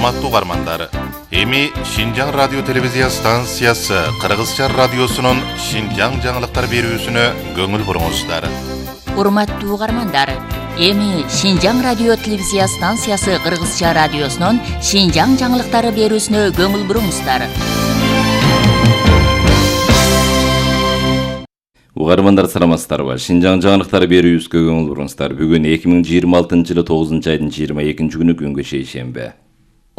Урматтуу угармандар, эми Шинжаң радио телевизия станциясы Кыргызча радиосунун Шинжаң жаңылыктар берүүсүнө көңүл буруңуздар. Урматтуу угармандар, эми Шинжаң радио телевизия станциясы Кыргызча радиосунун Шинжаң жаңылыктары берүүсүнө көңүл буруңуздар. Угармандар саламатсыздарбы? Шинжаң жаңылыктары берүүбүзгө көңүл буруңуздар. Бүгүн 2026-жылы 9-айдын 22-күнү күнгө шейшемби.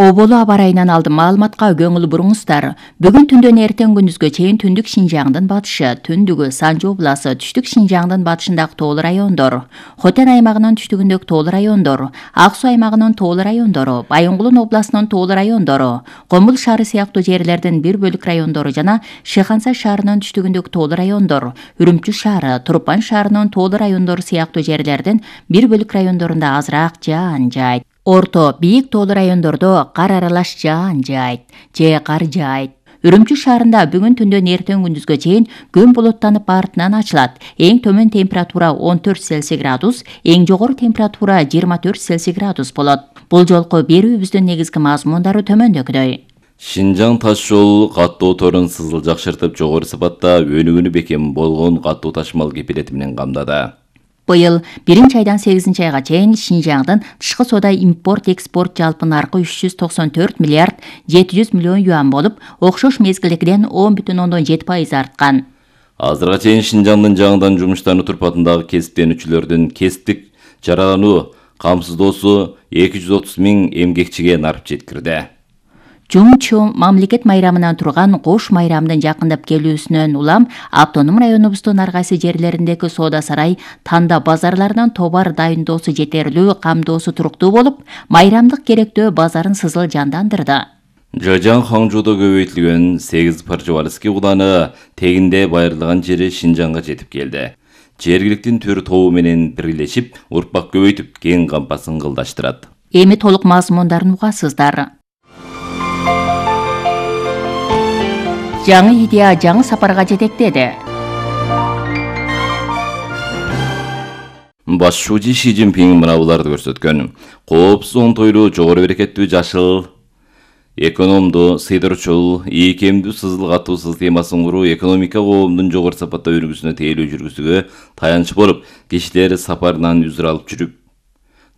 Оболу аба ырайынан алдын маалыматка көңүл буруңуздар. Бүгүн түндөн эртең күндүзгө чейин түндүк Шинжаңдын батышы, түндүгү Санжы областы, түштүк Шинжаңдын батышындагы тоолуу райондор, Хотен аймагынын түштүгүндөгү тоолуу райондор, Ак Суу аймагынын тоолуу райондору, Байынгулун областынын тоолуу райондору, Комул шаары сыяктуу жерлердин бир бөлүк райондору жана Шыханса шаарынын түштүгүндөгү тоолуу райондор, Үрүмчү шаары, Турпан шаарынын тоолуу райондору сыяктуу жерлердин бир бөлүк райондорунда азыраак жаан жаайт. Орто, бийик тоолуу райондордо кар аралаш жаан жаайт, же кар жаайт. Үрүмчү шаарында бүгүн түндөн эртең күндүзгө чейин күн булуттанып артынан ачылат. Эң төмөн температура 14 Цельсий градус, эң жогору температура 24 Цельсий градус болот. Бул жолку берүүбүздүн негизги мазмундары төмөндөгүдөй. Шинжаң таш жол каттоо торун сызыл жакшыртып, жогору сапатта өнүгүүнү бекем болгон каттоо ташмал кепилети менен камдады. Быйыл 1-айдан 8-айга чейин Шинжаңдын тышкы соода импорт-экспорт жалпы наркы 394 миллиард 700 миллион юан болуп, окшош мезгилдегиден 10,7% арткан. Азырга чейин Шинжаңдын жаңыдан жумуштануу турпатындагы кесиптенүүчүлөрдүн кесиптик жаралануу камсыздоосу 230 000 эмгекчиге нарып жеткирди. Жумчу мамлекет майрамынан турган кош майрамдын жакындап келүүсүнөн улам автоном районубуздун ар кайсы жерлериндеги соода сарай танда базарларынан товар дайындоосу жетерлүү, камдоосу туруктуу болуп, майрамдык керектөө базарын сызыл жандандырды. Жажаң Хаңжуудо көбөйтүлгөн 8 Парчевальский уланы тегинде байырлаган жери Шинжаңга жетип келди. Жергиликтин төр тобу менен бирлешип, урпак көбөйтүп, кең кампасын кылдаштырат. Эми толук мазмундарын угасыздар. Жаңы идея жаңы сапарга жетектеди. Башчы Ши Цзиньпин мына буларды көрсөткөн. Коопсуз, оңтойлуу, жогору берекеттүү, жашыл, экономдуу, сыйдырчул, ийкемдүү сызыл каттуу системасын куруу экономика коомдун жогору сапатта өргүсүнө тейлөө жүргүзүүгө таянч болуп, кишилер сапарынан үзүр алып жүрүп,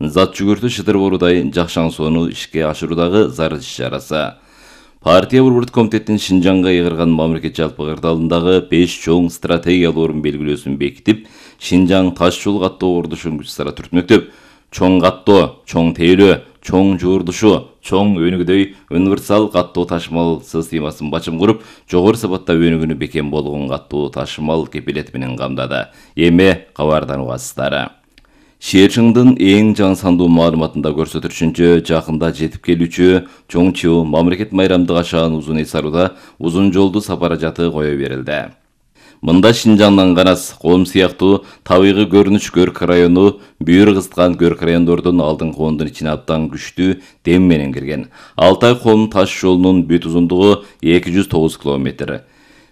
зат жүгүртүү шыдыр боорудай жакшаң соону ишке ашыруудагы зарыл иш-чарасы. Партия Борбордук комитеттин Шинжаңга ыйгарган мамлекет жалпы кырдаалындагы 5 чоң стратегиялык орун белгилөөсүн бекитип, Шинжаң таш жол каттоо курулушун күч-сара түртмөктөп, чоң каттоо, чоң тейлөө, чоң жуурдушу, чоң өнүгүдөй универсал каттоо ташмал системасын бачым куруп, жогору сапатта өнүгүүнү бекем болгон каттоо ташмал кепилети менен камдады. Эми кабардан угасыздар. Шээрчиңдин эң жаңы сандуу маалыматында көрсөтүлүшүнчө, жакында жетип келүүчү Чоңчу мамлекет майрамдык ашаан узун эсаруда узун жолду сапаражаты кое берилди. Мында Шинжаңдан Канас, Ком сыяктуу табигый көрүнүш Көрк району бүйүр кызыткан Көрк райондордун алдыңкы ондун ичине абдан күчтүү дем менен кирген. Алтай Ком таш жолунун бүт узундугу 209 км.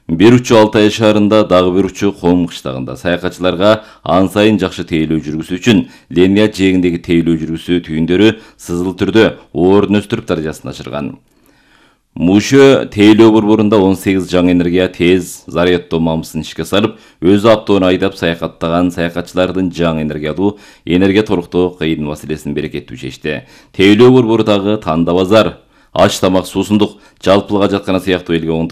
Бир учу Алтай шаарында, дагы бир учу Ком кыштагында саякатчыларга ан сайын жакшы тейлөө жүргүзүү үчүн линия жээгиндеги тейлөө жүргүзүү түйүндөрү сызыл түрдө орун өстүрүп даражасын ашырган. Мушө тейлөө борборунда 18 жаңы энергия тез зарядтоо мамысын ишке салып, өзү автоон айдап саякаттаган саякатчылардын жаңы энергиялуу энергия торуктоо кыйын маселесин берекеттүү чечти. Тейлөө борборудагы танда базар, аш тамак, суусундук, жалпылык ажаткана сыяктуу элге оңтойлуу